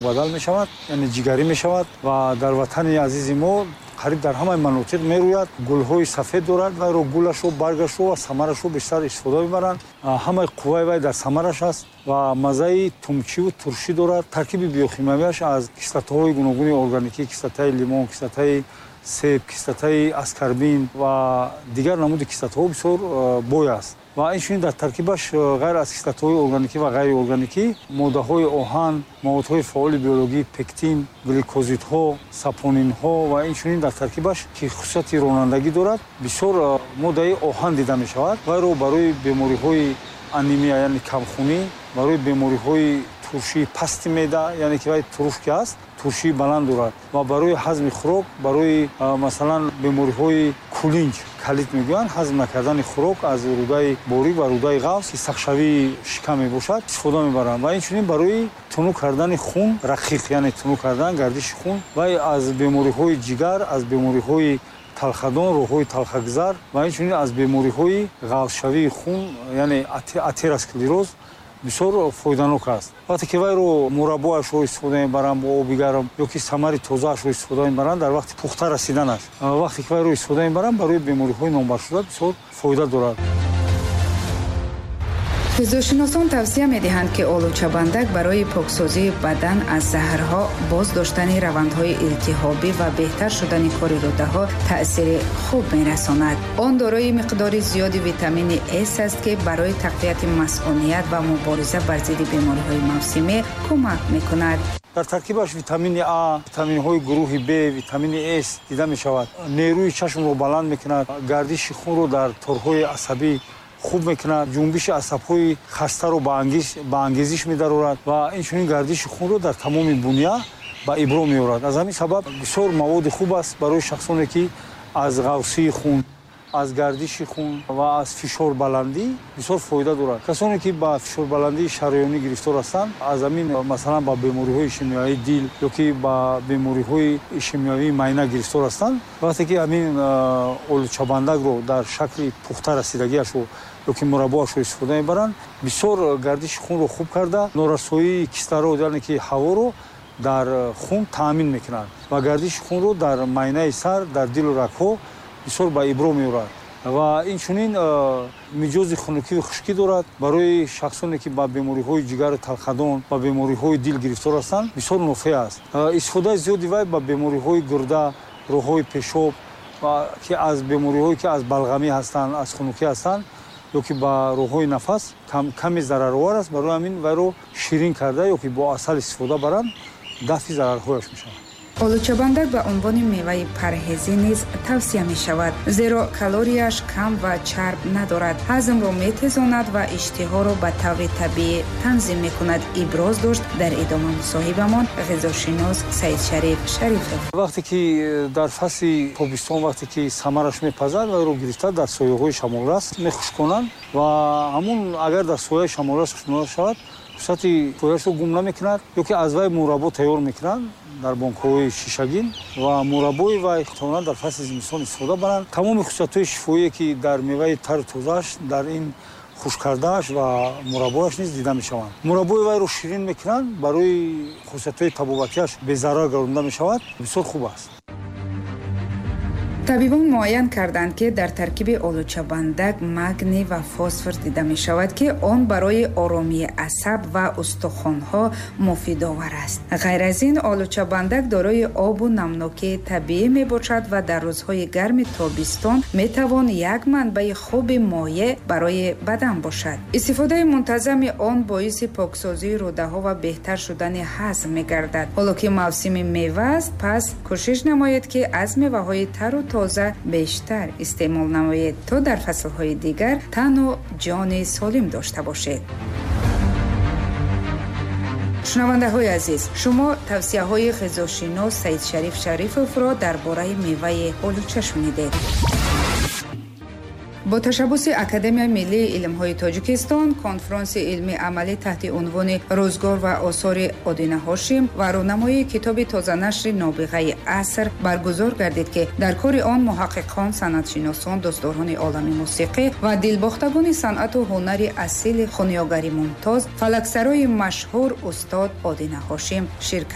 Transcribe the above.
Бадал мешавад, яъне ҷигарӣ мешавад ва дар ватани азизи мо қариб дар ҳамаи манотиқ мерӯяд. Гулҳои сафед дорад. Вайро, гулашро, баргашро ва самарашро бештар истифода мебаранд. Ҳамаи қувваи вай дар самараш аст ва маззаи тумчиву туршӣ дорад. Таркиби биохимиявиаш аз кислотаҳои гуногуни органикӣ, кислотаи лимон, кислотаи себ, кислотаи аскорбин ва дигар намуди кислотаҳо бисёр бой аст. Ва инчунин дар таркибаш ғайр аз кислотаҳои органикӣ ва ғайриорганикӣ моддаҳои оҳан, маводҳои фаъоли биологӣ, пектин, гликозидҳо, сапонинҳо ва инчунин дар таркибаш, ки хусусияти ронандагӣ дорад, бисёр моддаи оҳан дида мешавад. Вайро барои бемориҳои анемия, яъне камхунӣ, барои бемориҳои туршии пасти меъда, яъне ки вай туруш ки аст, туршии баланд дорад, ва барои ҳазми хӯрок, барои, масалан, бемориҳои кулинҷ, колит мегӯянд, ҳазм накардани хӯрок аз рӯдаи борик ва рӯдаи ғафз, ки сахтшавии шикам мебошад, истифода мебаранд. Ва инчунин барои тунук кардани хун, рақиқ, яъне тунук кардан гардиши хун. Вай аз бемориҳои ҷигар, аз бемориҳои талхадон, роҳҳои талхагузар ва инчунин аз бемориҳои ғафзшавии хун, яъне атеросклероз, бисёр фоиданок аст. Вақте ки вайро, мураббоашро истифода мебаранд бо оби гарм ё ки самари тозаашро истифода мебаранд дар вақти пухта расиданаш, вақте ки вайро истифода мебаранд, барои бемориҳои номбаршуда бисёр фоида дорад. Ғизошиносон тавсия медиҳанд, ки олучабандак барои поксозии бадан аз заҳрҳо, боз доштани равандҳои илтиҳобӣ ва беҳтар шудани кори рӯдаҳо таъсири хуб мерасонад. Он дорои миқдори зиёди витамини С аст, ки барои тақвияти масъуният ва мубориза бар зидди бемориҳои мавсимӣ кӯмак мекунад. Дар таркибаш витамини А, витаминҳои гурӯҳи Б, витамини С дида мешавад. Нерӯи чашмро баланд мекунад, гардиши хунро дар торҳои асабӣ хуб мекунад, ҷунбиши асабҳои хастаро ба ангезиш медарорад ва инчунин гардиши хунро дар тамоми буня ба ибро меорад. Аз ҳамин сабаб бисёр маводи хуб аст барои шахсоне, ки аз ғафсии хун, аз гардиши хун ва аз фишорбаландӣ бисёр фоида дорад. Касоне, ки ба фишорбаландии шараёнӣ гирифтор ҳастанд, аз ҳамин, масалан, ба бемориҳои ишемиявии дил ё ки ба бемориҳои ишемиявии майна гирифтор ҳастанд, вақте ки ҳамин олучабандакро дар шакли пухта расидагиашро ё ки мураббоашро истифода мебаранд, бисёр гардиши хунро хуб карда, норасоии кислород, яъне ки ҳаворо дар хун таъмин мекунад ва гардиши хунро дар майнаи сар, дар дилу рагҳо бисёр ба ибро меорад. Ва инчунин миҷози хунукию хушкӣ дорад. Барои шахсоне, ки ба бемориҳои ҷигару талхадон, ба бемориҳои дил гирифтор ҳастанд, бисёр нофеъ аст. Истифодаи зиёди вай ба бемориҳои гурда, роҳҳои пешоб, ки аз бемориҳое, ки аз балғамӣ ҳастанд, аз хунукӣ ҳастанд ё ки ба роҳҳои нафас, каме зараровар аст. Барои ҳамин вайро ширин карда ё ки бо асал истифода баранд, дафъи зарарҳояш мешавад. Олучабандак ба унвони меваи парҳезӣ низ тавсия мешавад, зеро калорияш кам ва чарб надорад, ҳазмро метезонад ва иштиҳоро ба таври табиӣ танзим мекунад, иброз дошт дар идома мусоҳибамон ғизошинос Саидшариф Шарифов. Вақте ки дар фасли тобистон, вақте ки самараш мепазад, вайро гирифта дар сояҳои шамолрас мехушконанд ва ҳамун агар дар сояи шамолрас хушконида шавад, хусусияти пояшро гум намекунад. Ё ки аз вай мураббо тайёр мекунанд дар бонкҳои шишагин ва мураббои вай метавонанд дар фасли зимистон истифода баранд. Тамоми хусусиятҳои шифоие, ки дар меваи тару тозааш, дар ин хушкардааш ва мураббояш низ дида мешаванд. Мураббои вайро ширин мекунанд, барои хусусиятҳои табобатиаш безарар гардонда мешавад, бисёр хуб аст. Табибон муайян карданд, ки дар таркиби олучабандак магний ва фосфор дида мешавад, ки он барои оромии асаб ва устухонҳо муфидовар аст. Ғайр аз ин, олучабандак дорои обу намнокии табиӣ мебошад ва дар рӯзҳои гарми тобистон метавон як манбаи хуби моеъ барои бадан бошад. Истифодаи мунтазами он боиси поксозии рӯдаҳо ва беҳтар шудани ҳазм мегардад. Ҳоло ки мавсими мева аст, пас кӯшиш намоед, ки аз меваҳои тару тоза бештар истеъмол намоед, то дар фаслҳои дигар тану ҷони солим дошта бошед. Шунавандаҳои азиз, шумо тавсияҳои ғизошинос Саидшариф Шарифовро дар бораи меваи олуча шунидед. Бо ташаббуси Академияи миллии илмҳои Тоҷикистон конфронси илмии амалӣ таҳти унвони «Рӯзгор ва осори Одина Ҳошим» ва рӯнамоии китоби тозанашри «Нобиғаи аср» баргузор гардид, ки дар кори он муҳаққиқон, санъатшиносон, дӯстдорони олами мусиқӣ ва дилбохтагони санъату ҳунари асили хунёгари мумтоз, фалаксарои машҳур устод Одина Ҳошим ширкат